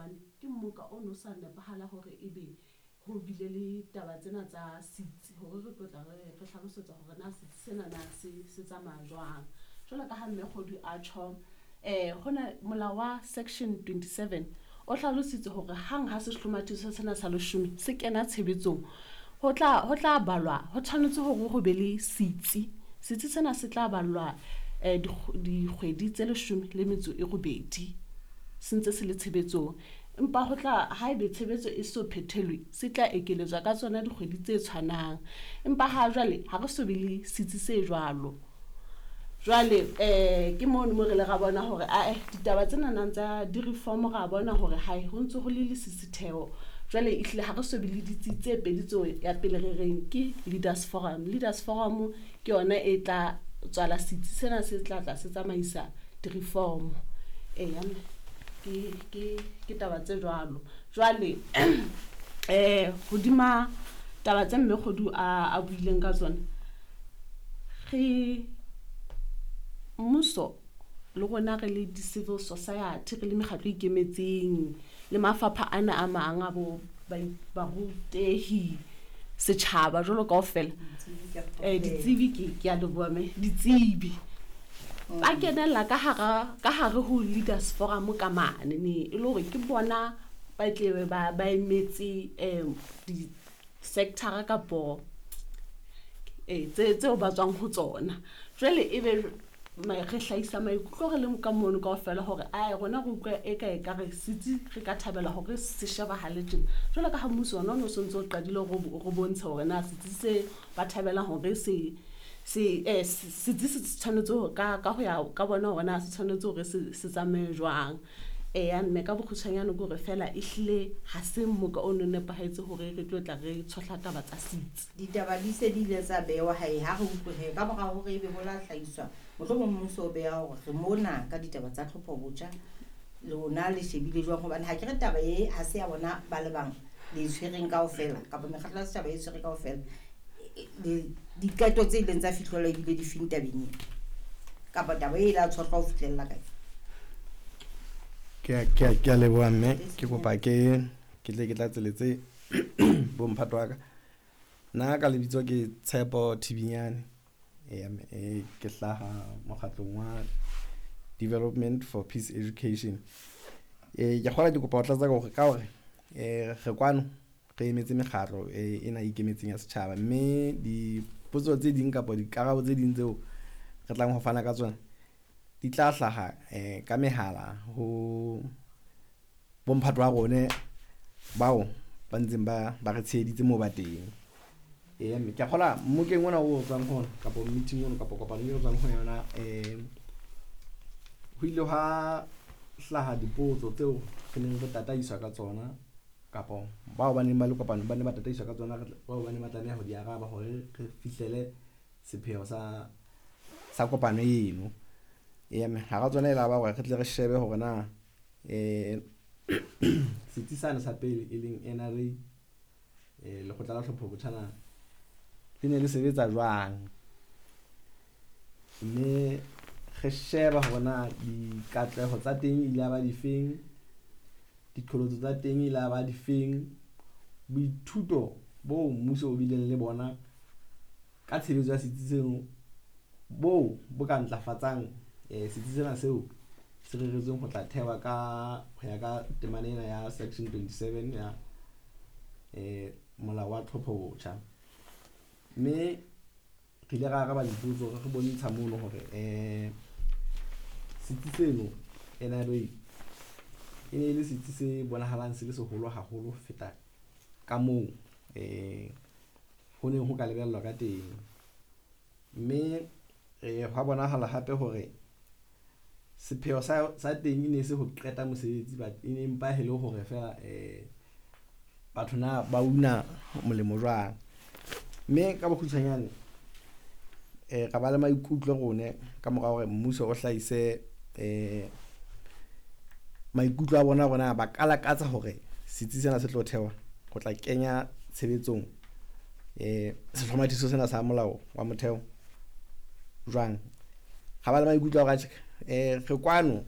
Hobane ke mmoka o no sa nepahala hore ebe ho bile le taba tsena tsa setsi hore re tlo tla re re hlalosetsa hore na setsi sena na se tsamaya jwang. Jwalo ka ha Mme Kgodu a tjho, hona molao wa section 27 o hlalositse hore hang ha sehlomathiso sena sa leshome se kena tshebetsong, ho tla balwa, ho tshwanetse hore ho be le setsi. Setsi sena se tla ballwa dikgwedi tse 18 se ntse se le tshebetsong. Empa ho tla haebe tshebetso e so phethelwe, se tla ekeletswa ka tsona dikgwedi tse tshwanang. Empa ha jwale ha re so be le setsi se jwalo. Jwale ke mono mo re le ra bona hore ae ditaba tsena nang tsa di-reform ra bona hore hae ho ntso ho le lesisitheho. Jwale ehlile ha re so be le ditsi tse pedi tseo ya pele re reng ke Leaders Forum. Leaders Forum ke yona e tla tswala setsi sena se tla tla se tsamaisa di-reform. Eya mme ke taba tse jwalo. Jwale hodima taba tse Mme Kgodu a buileng ka tsona, re mmuso le rona re le di-civil society, re le mekgatlo e ikemetseng le mafapha ana a mang a bo barutehi, setjhaba jwalo kaofela, ditsebi, ke a leboha mme, ditsebi ba kenella ka hare ho Leaders Forum ka mane ne e le hore ke bona ba tle ba emetse di-sector kapo tse tseo ba tswang ho tsona. Jwale ebe re hlahisa maikutlo re le ka mono kaofela hore ae rona re utlwa e ka ekare setsi re ka thabela hore se shebahale tjena. Jwalo ka ha mmuso ona o no sontso o qadile hore re bontshe hore na setsi se ba thabelang hore setsi se tshwanetse ka ho ya ka bona hore na se tshwanetse hore se tsamaye jwang. Eya mme, ka bokgutshwanyane ke hore fela ehlile ha se mmoka o no nepahetse hore re tlo tla re tshohla taba tsa setsi. Ditaba di se di ile tsa bewa hae, ha re utlwe he ka mora hore ebe ho la hlahiswa, mohlomong mmuso o beha hore re mona ka ditaba tsa tlhopho botjha, lona le shebile jwang? Hobane ha ke re taba e ha se ya bona ba le bang le e tshwereng kaofela, kapa mekgatlo ya setjhaba e tshwere kaofela. Diqeto tse ileng tsa fihlellwa ebile di feng tabeng ena, kapa taba e ile ya tshohlwa ho fihlella kae? Ke a leboha mme, ke kopa ke tle ke tlatseletse bomphato wa ka. Nna ka lebitso ke Tshepo Thibinyane. Eya mme, ke hlaha mokgatlong wa Development for Peace Education. Ke kgolwa ke kopa ho tlatsa ka hore re kwano re emetse mekgatlo ena e ikemetseng ya setjhaba, mme dipotso tse ding kapa dikarabo tse ding tseo re tlang ho fana ka tsona di tla hlaha ka mehala ho bomphato wa rone bao ba ntseng ba re tsheheditse moo ba teng. Eya mme, ke a kgolwa mmokeng ona o tswang ho ona kapa meeting ono kapa kopano eo tswang ho yona, ho ile hwa hlaha dipotso tseo re neng re tataiswa ka tsona, kapa bao ba neng ba le kopanong ba ne ba tataiswa ka tsona, bao ba neng ba tlameha ho di araba hore re fihlele sepheo sa kopano eno. Eya mme, hara tsona e la ba hore re tle re shebe hore na setsi sane sa pele e leng NRA, lekgotla la tlhopho botjha, na le ne le sebetsa jwang, mme re sheba hore na dikatleho tsa teng ile ya ba difeng, diqholotso tsa teng ile ya ba difeng, boithuto bo mmuso o bileng le bona ka tshebetso ya setsi seno bo bo ka ntlafatsang setsi sena seo se reretsweng ho tla thewa ka ho ya ka temana ena ya section 27 ya molao wa tlhopho botjha. Mme re ile ra araba dipotso, re bontsha mono hore setsi seno NRA e ne e le setsi se bonahalang se le seholo haholo ho feta ka moo ho neng ho ka lebellwa ka teng. Mme hwa bonahala hape hore sepheo sa teng e ne se ho qeta mosebetsi, but e ne empa e le hore feela batho na ba una molemo jwang. Mme ka bokgutshwanyane ra ba le maikutlo rone ka mora hore mmuso o hlahise maikutlo a bona hore na ba ka lakatsa hore setsi sena se tlo thewa ho tla kenya tshebetsong sehlomathiso sena sa molao wa motheo jwang. Ra ba le maikutlo a hore atjhe, re kwano.